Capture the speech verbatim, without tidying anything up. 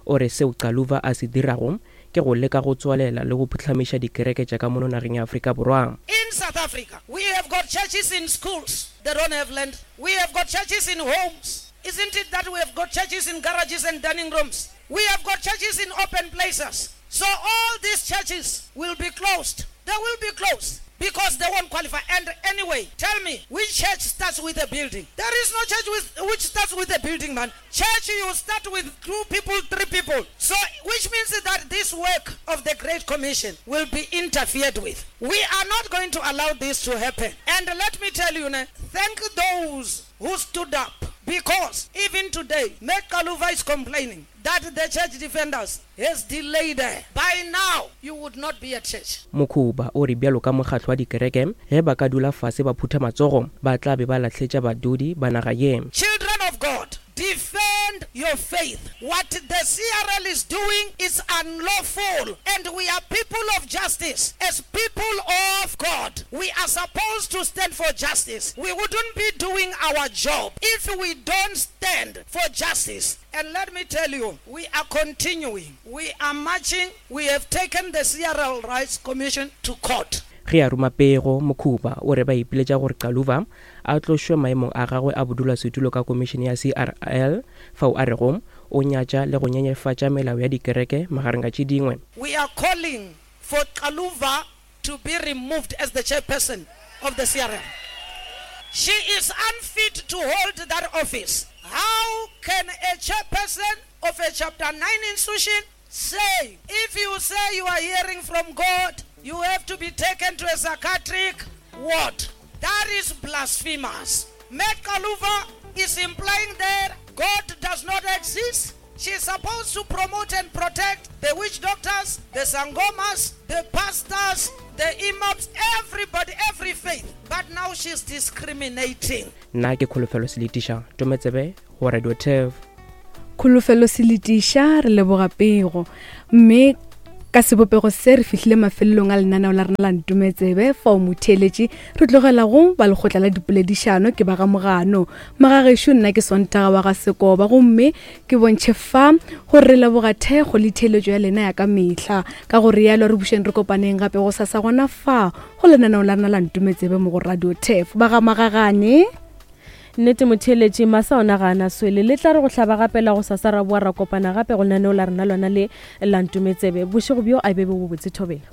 O re seo Xaluva a se dirago ke go leka go tswalela le go phuhlamiša dikereke tša ka mono nageng ya Afrika Borwa. In South Africa, we have got churches in schools, they don't have land. We have got churches in homes. Isn't it that we have got churches in garages and dining rooms? We have got churches in open places. So all these churches will be closed. They will be closed because they won't qualify. And anyway, tell me, which church starts with a building? There is no church with, which starts with a building, man. Church, you start with two people, three people. So, which means that this work of the Great Commission will be interfered with. We are not going to allow this to happen. And let me tell you, thank those who stood up. Because even today, Mac Xaluva is complaining that the church defenders has delayed her. By now, you would not be at church. Mokhuba o re bjalo ka mokgatlo wa dikereke ge ba ka dula fase ba phutha matsogo ba tla be ba lahletša badudi ba naga ye. Children of God, defend your faith. What the C R L is doing is unlawful, and we are people of justice. As people of God, we are supposed to stand for justice. We wouldn't be doing our job if we don't stand for justice. And let me tell you, we are continuing. We are marching. We have taken the C R L Rights Commission to court. Ge a ruma pego, Mokhuba o re ba ipiletša gore Xaluva a tlošwe maemong a gagwe a bodulasetulo ka komišene ya C R L fao a rego o nyatša le go nyenyefatša melao ya dikereke magareng ga tše dingwe. We are calling for Xaluva to be removed as the chairperson of the C R L. She is unfit to hold that office. How can a chairperson of a Chapter nine institution say, if you say you are hearing from God, you have to be taken to a psychiatric ward? That is blasphemous. Mac Xaluva is implying that God does not exist. She is supposed to promote and protect the witch doctors, the sangomas, the pastors, the imams, everybody, every faith. But now she's discriminating. Nna ke Kholofelo Seletiša, Tometsebe go Radio Turf. Kholofelo Seletiša, re leboga pego. Mme ka sebopego se re fihlile mafelelong a lenaneo la rena la Ntometsebe fao motheeletši re tlogela go ba lekgotla la dipoledišano ke ba ga Mogano. Magagešo nna ke Sontaga wa ga Sekoba gomme ke bontšhe fa gore re leboga thekgo le theeletšo ya lena ya ka mehla. Ka go rialo re bušeng re kopaneng gape go sasa gona fa go lenaneo la rena la Ntometsebe mo go Radio Turf. Ba ga Magagane. Nnete motheeletši masa ona ga ana swele le tla re go hlaba gape la go sasa ra boa ra kopana gape go lenaneo la rena lona le la Ntometsebe. Bošego bjo a be bo botse thobela.